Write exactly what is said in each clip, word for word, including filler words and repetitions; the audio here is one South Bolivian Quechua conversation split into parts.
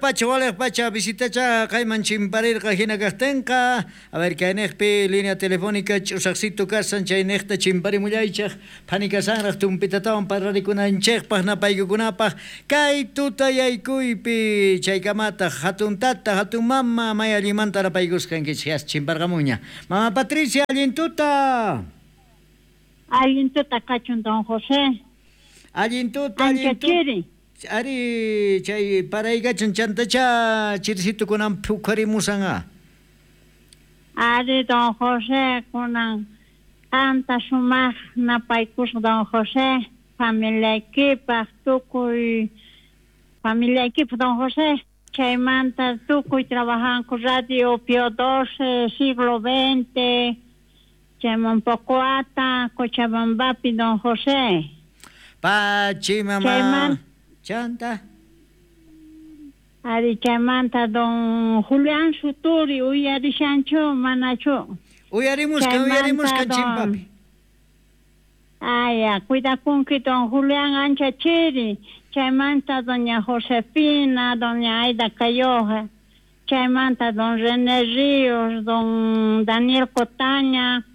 Walej pacha, walej pacha, visitacha kayman chimparirqa hina kaqtinqa. A ver, kayniqpi línea telefónica ch'usaqsitu kasan chayniqta chimparimullaychaq. Phani kasanraq tumpitatawan parlarikunanchisqpaq napaykukunapaq. Kay tutayaykuypi chaykamataq hatun tata, hatun mama, may allinmanta napaykusqankichik yas chimparqamunña. Mama Patricia, allin tuta. Allin tuta kachun don José. Allin tuta, allin tuta. Ari chay paraykachan chantacha chirisito kunan phukarimusan. Ari don José kunan anta sumaq napaykusqa don José familiaykipaq tukuy familiaykipaq don José chaymanta tukuy trabajanku Radio Pío doce siglo veinte chayman Pocoata Cochabambapi don José. Pachi mama. Chayman Chanta. Ari chaymanta don Julián Suturi uyarishanchu manachu. Uyarimusqa, uyarimusqa chimpapi. Aya, cuidakunki don Julián ancha chiri. Chaymanta doña Josefina, doña Aida Cayoja. Chaymanta don René Ríos, don Daniel Cotaña.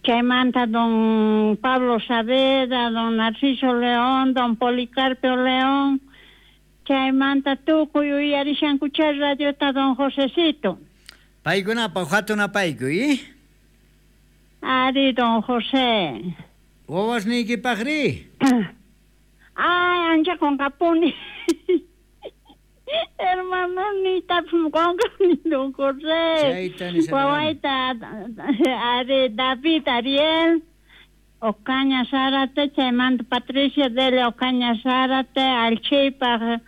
Chaymanta don Pablo Saavedra, don Narciso León, don Policarpio León. Chaymanta tukuy uyarishankucha radiota don Josecito. Paykunapaq hatun apaykuy, eh? Ari don José. Wawasniykipaqri? Ay, ancha qonqapuni. Hermano, ni qonqani don José. Wawayta ari David Ariel Ocaña Zárate, chaymanta Patricia Delia Ocaña Zárate, Alchipaq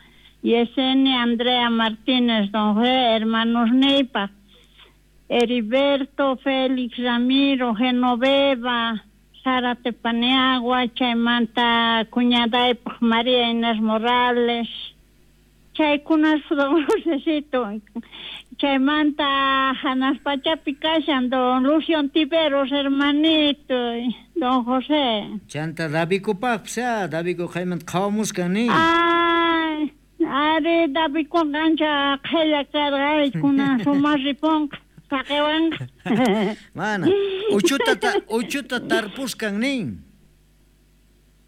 Yesenia Andrea Martínez, don José, hermanos niypaq Heriberto, Félix Ramiro, Genoveva, Zárate Paniagua, chaymanta cuñadaypaq María Inés Morales. Chaykunas don Josecito. Chaymanta hanaq pachapi kashan don Lucio Ontiveros, hermanito, don José. Chanta Davikupaqpis, ah, Daviku qaymanta qhawamusqan nin. Ay, ari Davikuqa ancha qhella karqa, kunan sumaq ripunqa, saqiwanqa. Mana, uchuta ta, uchuta tarpusqan nin.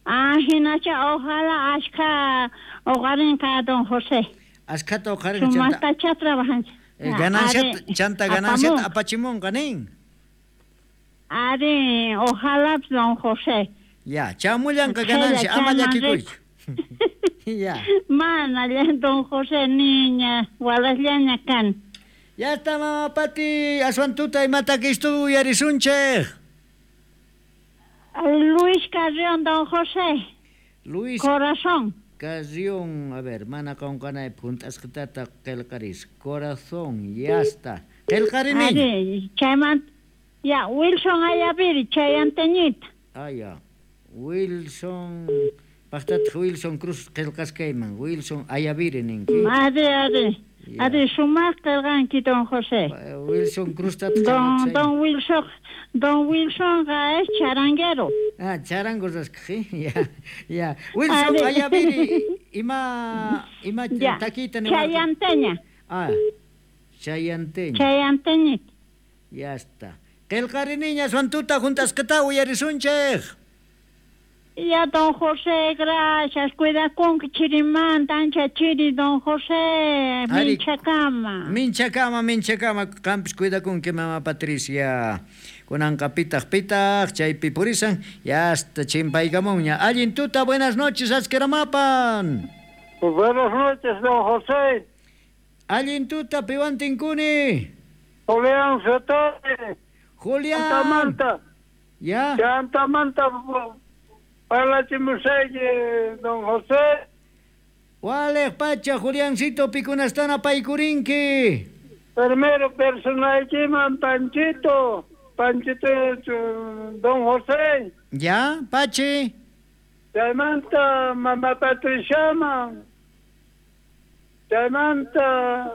Ah, hinacha ojalá ashka hogarinqa don José. Ashkata hoqarinqa chanta. Sumaqtacha trabajanchik. Eh, gananciata, chanta gananciata apachimunqa nin. Ari, ojalá don José. Ya, chamullanqa ganancia, ama llakikuychu. Ya. Mana, don José, niña, walasllaña kan. Ya está, mama Pati, aswan tuta imataki estuvo uyarisunchej. Luis Carrión, don José. Luis Corazón. Carrión, a ver, mana qonqanaypaq hunt'asqitata qillqaris. Corazón, ya está. Qillqarini. Ari, chaymanta, ya, Wilson Ayaviri, chayanteñita. Ah, ya. Wilson, paqtataq Wilson Cruz qillqasqayman. Wilson Ayaviri ninki. Ari, ari. Ari, sumaq qillqanki, don José. Wilson Cruz Don, don Wilson, don Wilson es charanguero. Ah, charango rasqi. Ya, ya. Wilson Ayaviri, ima, ima taquita ni. Chayanteña. Ah, chayanteña. Chayanteñita. Ya está. Qillqariniña aswan tuta juntasqata uyarisunchik. Ya, don José, gracias. Cuidakunki chirimanta, ancha chiri, don José. Minchakama. Minchakama, minchakama. Qampis cuidakunki, mama Patricia. Kunanqa pitaq pitaq, chaypi purisan. Ya hasta chimpaykamunña. Allin tuta, buenas noches, askeramapan. Buenas noches, don José. Allin tuta, piwan tinkuni. Julián Sotore. Julián. Chantamanta. Ya. Chantamanta. Parlachimusayki, don José. Walej pacha, Juliancito, pikunastana paykurinki. Primero personaykiman Panchito, Panchito, don José. Ya, Pachi. Chaymanta mama Patriciaman. Chaymanta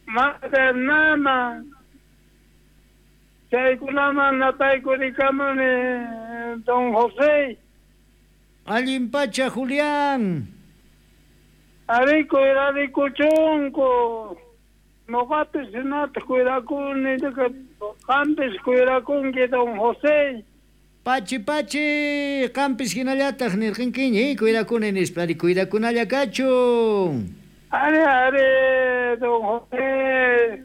mama Bernama. Chaykunaman napaykurikamun don José. Allin pacha, Julián. Ari cuidarikuchunku. Noqapis hinata cuidakuni, qampis cuidakunki don José. Pachi pachi, qampis hinallataq nirqinkiñi, cuidakuni nispa, ari cuidakunalla kachun. Ari ari don José.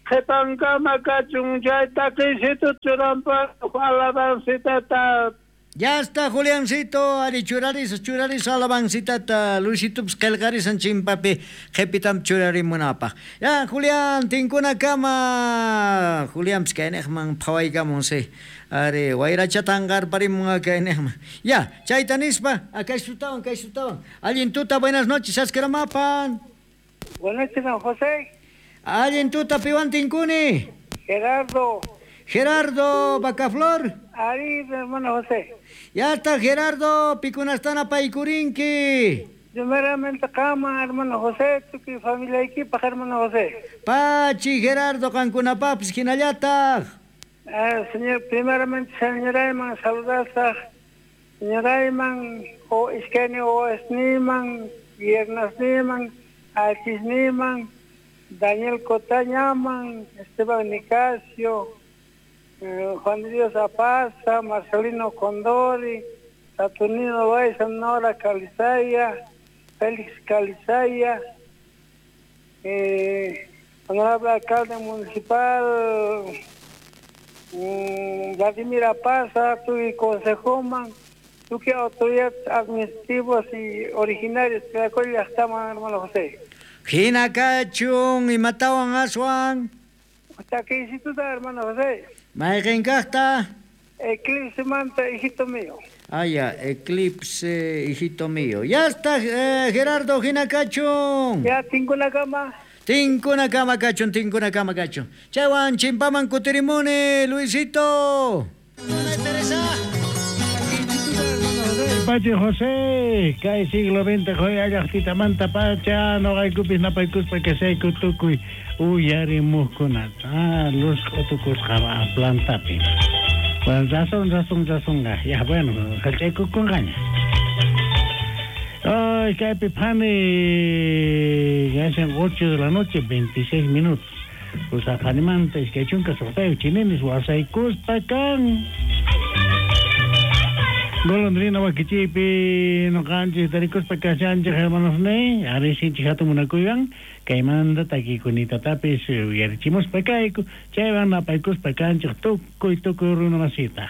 Qhipankama kachun chay takisito churanpa alabancitata. Ya está, Juliancito, ari churarisa, churarisa alabancitata, Luisitupis qillqarisan chimpapi qhipitam churarimunapaq. Ya, Julián, tinkunakama. Juliánpis kayniqman phawaykamun si. Ari, wayrachata anqarparimun kayniqman. Ya, chayta nispa, kaysutawan, kaysutawan. Allin tuta, buenas noches, Askramapan. Buenas noches, don José. Allin tuta, piwan tinkuni. Gerardo. Gerardo Bacaflor. Ari, hermano José. Ya está, Gerardo, pikunastana paykurinki. Primeramente, kama, hermano José, tuki familia equipa, hermano José. Pachi, Gerardo, qankunapapis hinallataq. Eh, señor, primeramente, señor Ayman, saludasaq. Señor Ayman, o iskani o esniman, viernesniman, alchisniman, Daniel Cotañaman, Esteban Nicasio, eh, Juan Dios Apaza, Marcelino Condori, Saturnino Baiza, Nora Calizaya, Félix Calizaya, eh, honorable alcalde municipal, mm, Vladimir Apaza, tuve consejoman, tuve autoridades administrativos y originarios, que la cual ya estamos, hermano José. Hina kachun, imatawan aswan. Takisituta, hermano José. Mayqin kaqta? Eclipse manta, hijito mío. Ah, ya, eclipse, hijito mío. Ya está, eh, Gerardo, hina kachun. Ya, tinkunakama. Tinkunakama kachun, tinkunakama kachun. Chaywan, chimpaman kutirimuni, Luisito. Pachi José, kay siglo veinte joya llaqtitamanta pacha, noqaykupis napaykuspa kashayku tukuy uyarimuqkunata. Ah, luz q'utukusqa plantapi. Bueno, razón, razón, razón. Ya, bueno, hallch'aykukunqaña. Ay, kaypi phani, gashan ocho de la noche, veintiséis minutos. Pues aphanimanta iskay chunka suqtayuq chininis wasaykuspa kan. Golondrina wakichipi noqanchis tarikuspa kashanchik hermanos ne ari sinchik hatun munakuywan kaymanta takikunitatapis uyarichimuspa kayku chaywan napaykuspa kanchik tukuy tukuy runa masita.